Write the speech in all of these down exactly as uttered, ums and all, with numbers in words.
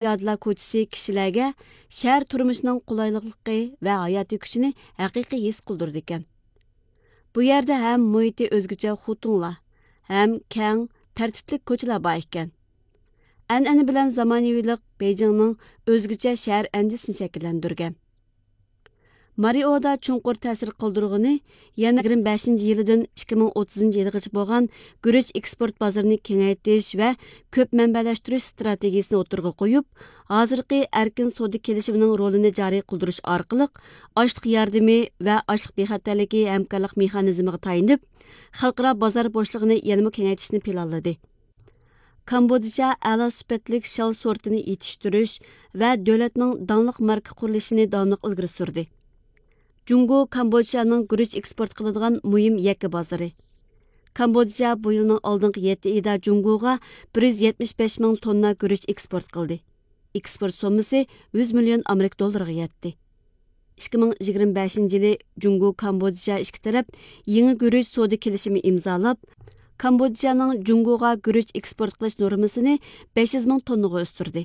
زىيادىلار كوچىسى كىشىلەرگە شەھەر تۇرمۇشىنىڭ قولايلىقلىقى ۋە ھاياتىي كۈچىنى ھەقىقىي ھېس قىلدۇرىدىكەن. بۇ يەردە ھەم مۇھىتى ئۆزگىچە خوتۇڭلار، ھەم كەڭ، تەرتىپلىك كوچىلار بار ئىكەن. ئەنئەنە بىلەن زامانىۋىلىق بېيجىڭنىڭ ئۆزگىچە شەھەر ئەندىزىسىنى شەكىللەندۈرگەن. مارىئودا چوڭقۇر تەسىر قالدۇرغىنى يەنە يىگىرمە بەشىنچى يىلىدىن ئىككى مىڭ ئوتتۇزىنچى يىلىغىچە بولغان گۈرۈچ ئېكسپورت بازىرىنى كېڭەيتىش ۋە كۆپ مەنبەلەشتۈرۈش ئىستراتېگىيىسىنى ئوتتۇرىغا قويۇپ، ھازىرقى ئەركىن سودا كېلىشىمىنىڭ رولىنى جارى قىلدۇرۇش ئارقىلىق، ئاشلىق ياردىمى ۋە ئاشلىق بىخەتەرلىكى ھەمكارلىق مېخانىزمىغا تايىنىپ، خەلقئارا بازار بوشلۇقىنى يەنىمۇ كېڭەيتىشنى پىلانلىدى. كامبودژا ئەلا سۈپەتلىك شال سورتىنى يېتىشتۈرۈش ۋە دۆلەتنىڭ داڭلىق ماركا قۇرۇلۇشىنى داۋاملىق ئىلگىرى سۈردى. جۇڭگو كامبودژانىڭ گۈرۈچ ئېكسپورت قىلىدىغان مۇھىم يەككە بازىرى. كامبودژا بۇ يىلنىڭ ئالدىنقى يەتتە ئېيىدا جۇڭگوغا بىر يۈز يەتمىش بەش مىڭ توننا گۈرۈچ ئېكسپورت قىلدى. ئېكسپورت سوممىسى يۈز مىليون ئامېرىكا دوللىرىغا يەتتى. ئىككى مىڭ يىگىرمە بەشىنچى يىلى جۇڭگو كامبودژا ئىككى تەرەپ يېڭى گۈرۈچ سودا كېلىشىمى ئىمزالاپ، كامبودژانىڭ جۇڭگوغا گۈرۈچ ئېكسپورت قىلىش نورمىسىنى بەش يۈز مىڭ توننىغا ئۆستۈردى.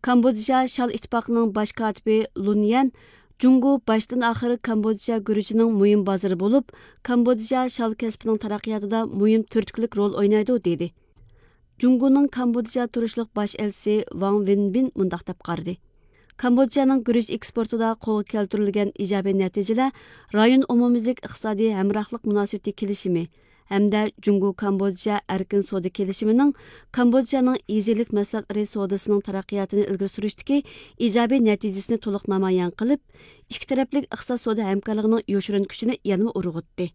كامبودژا شال ئىتتىپاقىنىڭ باش كاتىپى لۇن يەن جۇڭگو باشتىن ئاخىر كامبودژا گۈرۈچىنىڭ مۇھىم بازىرى بولۇپ، كامبودژا شال كەسپىنىڭ تەرەققىياتىدا مۇھىم تۈرتكىلىك رول ئوينايدۇ، دېدى. جۇڭگونىڭ كامبودژا تۇرۇشلۇق باش ئەلچىسى ۋاڭ ۋېنبىن مۇنداق دەپ قارىدى: كامبودژانىڭ گۈرۈچ ئېكسپورتىدا قولغا كەلتۈرۈلگەن ئىجابىي نەتىجىلەر رايون ئومۇميۈزلۈك ئىقتىسادىي ھەمراھلىق مۇناسىۋىتى كېلىشىمى ھەمدە جۇڭگو كامبودژا ئەركىن سودا كېلىشىمىنىڭ كامبودژانىڭ ئېزىيلىك مەھسۇلاتلىرى سودىسىنىڭ تەرەققىياتىنى ئىلگىرى سۈرۈشتىكى ئىجابىي نەتىجىسىنى تولۇق نامايان قىلىپ، ئىككى تەرەپلىك ئىقتىساد سودا ھەمكارلىقىنىڭ يوشۇرۇن كۈچىنى يەنىمۇ ئۇرغۇتتى.